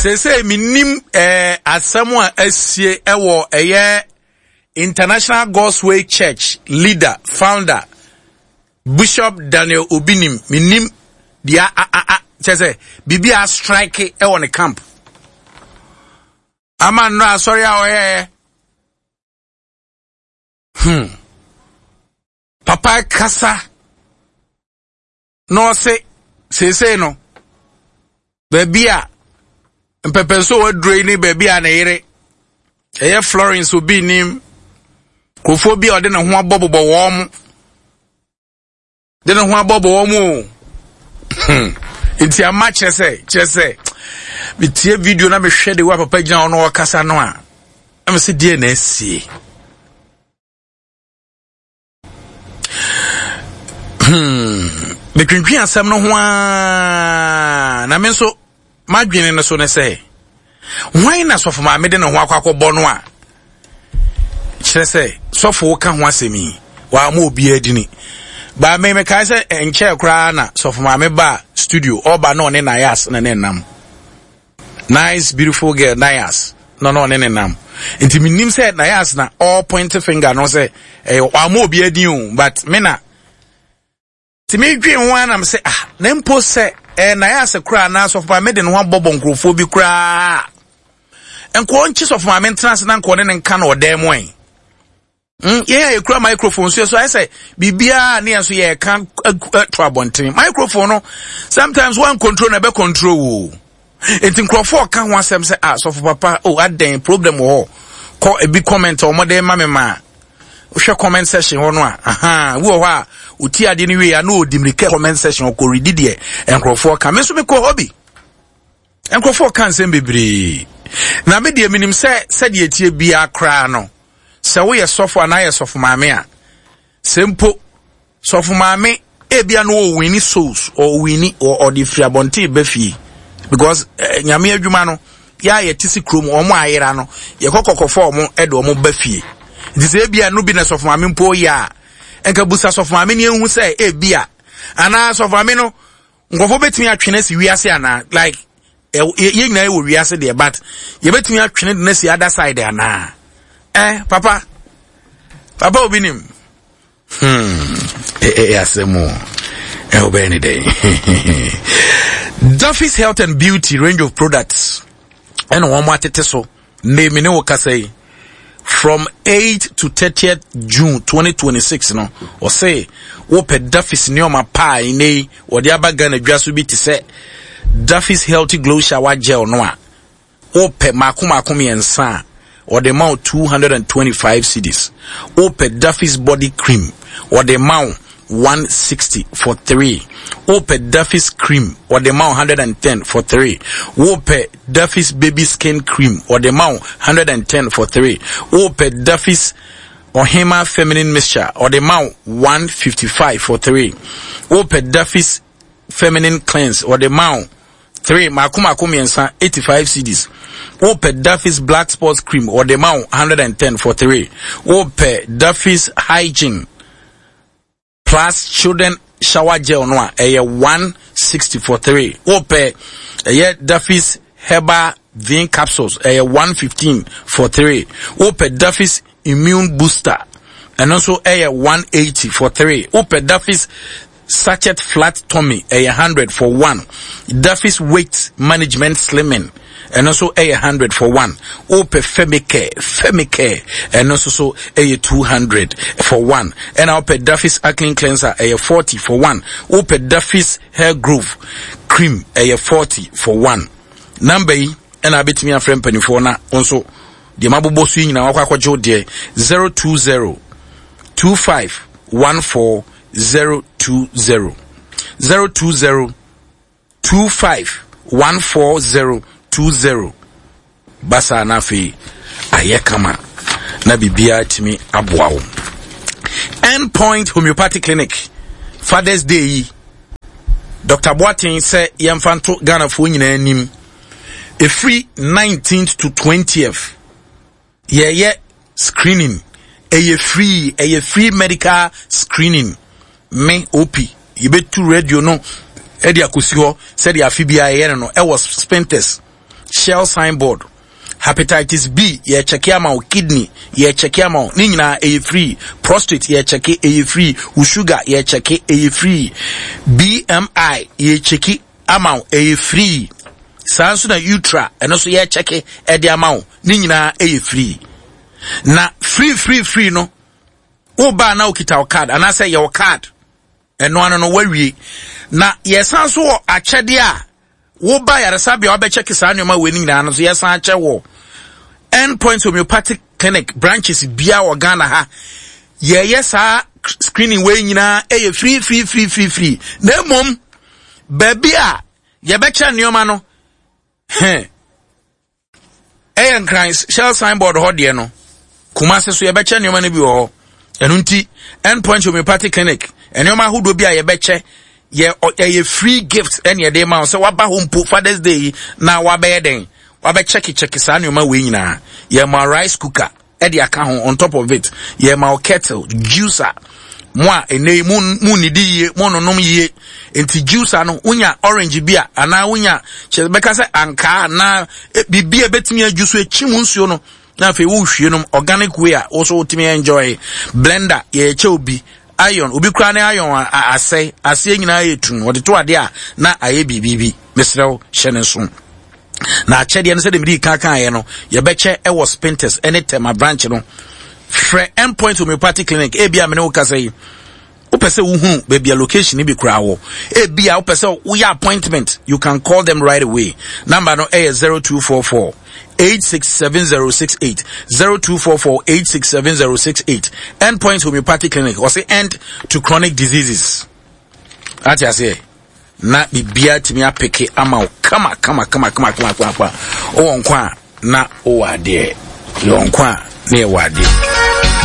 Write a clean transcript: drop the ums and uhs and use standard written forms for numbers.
Seesei menim eh, asɛm a asie ɛwɔ ɛyɛ International God's Way Church leader, founder, Bishop Daniel Obinim. Menim deɛ a a a kyɛ sɛ biribi a strike ɛwɔ ne camp. Ama nnora asɔre a ɔyɛɛ. Hmm. Papa kasa na ɔse seesei no baabi a mpɛpɛnso waduro yi ne baabi a ne yere ɛyɛ Florence obi nim nkurɔfoɔ bi a ɔde ne ho abɔbobɔ wɔn mo de ne ho abɔbɔ wɔn o hmm. nti ama kyerɛ sɛ kyerɛ sɛ metie video na mehwɛ de wa papa gyina hɔ na ɔkasa no a ɛmɛ sɛ deɛ na asie Hmm. Metwentwen asɛm no ho ara na me nso m'adwene no so ne sɛ hwan na sɔfo maame de ne ho akɔ akɔbɔ no a kyerɛ sɛ sɔfo ka ho asɛm yi wɔama obiara dini baa me mekae sɛ nkyɛɛ koraa na sɔfo maame baa studio ɔba na ɔne nayas na ne nam Nice beautiful girl Nayas na na ɔne ne nam nti menim sɛ Nayas na all point finger no sɛ ɛyɛ wama obi adin o but me na nti medwen ho ara nam sɛ ah na mpo sɛ ɛyɛ Nayas koraa anaa sɔfo maame de ne ho abɔbɔ nkurɔfoɔ bi koraa nkɔɔ nkye sɔfo maame ntena ase na nkɔɔ ne ne nka na ɔdan mu ɛ yɛn a yɛkura microphone so yɛ so ayɛ sɛ biribiara ne yɛn nso yɛreka to abɔnten microphone no sometimes one control na ɛbɛ control wo nti nkurɔfoɔ ɔka ho asɛm sɛ ah sɔfo papa oh adɛn problem wɔ hɔ kɔ ebi comment a wɔde ma me ma wohwɛ comment section hɔ no a aha wi wɔ hɔ a ɔti adeɛ no wie a na ɔdi mmirika comment section ɔkɔ redi deɛ nkurɔfoɔ ka me nso mekɔ hɔ bi nkurɔfoɔ ka nsɛm bebree na me deɛ menim sɛ sɛdeɛ ɛtie biara koraa no Sɛ woyɛ sɔfo anaa yɛ sɔfo maame a, sɛ mpo sɔfo maame ebia no ɔwini souls ɔwini ɔde firi abɔnten ba fie because eh, nyame adwuma no yɛ a yɛte si kurom wɔn a ayera no yɛkɔ kɔkɔfɔ wɔn de wɔn ba fie nti sɛ ebia no bi na sɔfo maame mpo yɛ a nka busa sɔfo maame ne ehu sɛ ebia anaa sɔfo maame no nkurɔfoɔ bɛtumi atwene asi wiase anaa like yɛn nyinaa wɔ wiase deɛ but yɛbɛtumi atwene de no asi other side anaa eh papa papa obi nim hmm ɛyɛ asɛm o ɛwɔ bɛyɛ ne dɛn Duffy's Health and Beauty range of products ɛna wɔn atete so Nnɛ me ne wo kasa yi, from 8 to 30th June 2026 no, ɔse wopɛ Duffy's nneɛma pa a nnɛ yi wɔde aba Ghana dwa so bi te sɛ Duffy's Healthy Glow Shower Gel no a, wopɛ mako mako mmiɛnsa a, wɔde ma wo 225 cedis. Wopɛ Duffy's Body Cream, wɔde ma wo 160 for 3. Wopɛ Duffy's Cream, wɔde ma wo 110 for 3. Wopɛ Duffy's Baby Skin Cream, wɔde ma wo 110 for 3. Wopɛ Duffy's Ɔhema Feminine Mixture, wɔde ma wo 155 for 3. Wopɛ Duffy's Feminine Cleanse, wɔde ma wo 3 mako mako mmiɛnsa 85 cedis. Wopɛ Duffy's Black Spots Cream, wɔde ma wo 110 for 3. Wopɛ Duffy's Hygiene Plus Children Shower Gel no a ɛyɛ 160 for 3. Wopɛ ɛyɛ Duffy's Herbal Vein Capsules ɛyɛ 115 for 3. Wopɛ Duffy's Immune Booster ɛno nso ɛyɛ 180 for 3. Wopɛ Duffy's Sachet Flat Tummy ɛyɛ 100 for 1. Duffy's Weight Management Slimming ɛno nso ɛyɛ 100 for 1. Wopɛ Femicare Femicare ɛno nso so ɛyɛ 200 for 1. Ɛna wopɛ Duffy's Acne Cleanser ɛyɛ 40 for 1. Wopɛ Duffy's Hair Growth Cream ɛyɛ 40 for 1. Number yi ɛna abɛtumi afrɛ mpanimfoɔ na wo nso deɛ mabobɔ so yi nyinaa wakɔ akɔgye wo deɛ 020 25 14 020 020 25 14020 basaa na afei ayɛ kama na biribiara tumi aboa wo. End Point Homeopathic Clinic Father's Day yi Dr. Boateng sɛ yɛmfa nto Ghanafoɔ nyinaa anim ɛfiri 19th to 20th Yɛyɛ screening, ɛyɛ free, ɛyɛ free medical screening. Me, OP, yɛbɛtu radio no ɛde akɔsi hɔ sɛdeɛ afe biara yɛyɛ no no ɛwɔ Spintex. Shell signboard. Hepatitis B yɛkyɛke ama wo, kidney yɛkyɛke ama wo, ne nyinaa ɛyɛ free. Prostate yɛkyɛke ɛyɛ free, wo sugar yɛkyɛke ɛyɛ free. BMI yɛkyɛke ama wo ɛyɛ free. Saa nso na utra ɛno nso yɛkyɛke ɛde ama wo, ne nyinaa ɛyɛ free. Na free free free no, wo baa na wokita wo card anaasɛ yɛ wo card ɛno ano no wawie. Na yɛsan so wɔ akyɛdeɛ a woba yaresabea wabɛkyɛke saa nneɛma wei no nyinaa no so yɛsan akyɛ wɔ End Point Homeopathic Clinic branches bia wɔ Ghana ha. Yɛyɛ saa screening wei nyinaa ɛyɛ free free free free free. Na mmom baabi a yɛbɛkyɛ nneɛma no hɛn ɛyɛ Nkran Shell signboard hɔ deɛ no, Kumase so yɛbɛkyɛ nneɛma no bi wɔ hɔ. Ɛno nti End Point Homeopathic Clinic nneɛma ahodoɔ bi a yɛbɛkyɛ yɛ ɛyɛ free gift ɛne ɛde ma wo sɛ waba hɔ mpo Father's Day yi na wabɛyɛ dɛn wabɛkyɛkekyɛke saa nneɛma wei nyinaa. Yɛma rice cooker ɛde aka ho on top of it. Yɛma wo kettle, juicer. Mo a ɛnɛ yi mo mo nnidi yie, mo nonom yie. Nti juicer no wonya orange bi a anaa wonya kyerɛ bɛka sɛ ankaa anaa e, biribi a ɛbɛtumi adwu so ekyi mu nsuo no na afei wohwie nom organic way a wo so wotumi enjoy. Blender yɛkyɛ obi iron obi koraa ne iron asɛe aseɛ nyinaa yɛ tum wɔde to adeɛ a na ayɛ biribi bi mesrɛ wo hyɛ ne nso. Na akyɛdeɛ no sɛdeɛ mede kan kaeɛ no yɛbɛkyɛ ɛwɔ Spintex ɛne Tema branch no. Frɛ Endpoint Homeopathic Clinic ebi a mene wo kasa yi wopɛ sɛ wohunu baabi a location bi koraa wɔ ebi a wopɛ sɛ woyɛ appointment you can call them right away. Number no ɛyɛ 0244 867068 0244 867068. Endpoint Homeopathic Clinic ɔse end to chronic diseases. Ate aseɛ na biribiara tumi apeke ama wo kama kama kama kama kama kama kama. Wowɔ nkwa a na wowɔ adeɛ, yɛwɔ nkwa a na yɛwɔ adeɛ.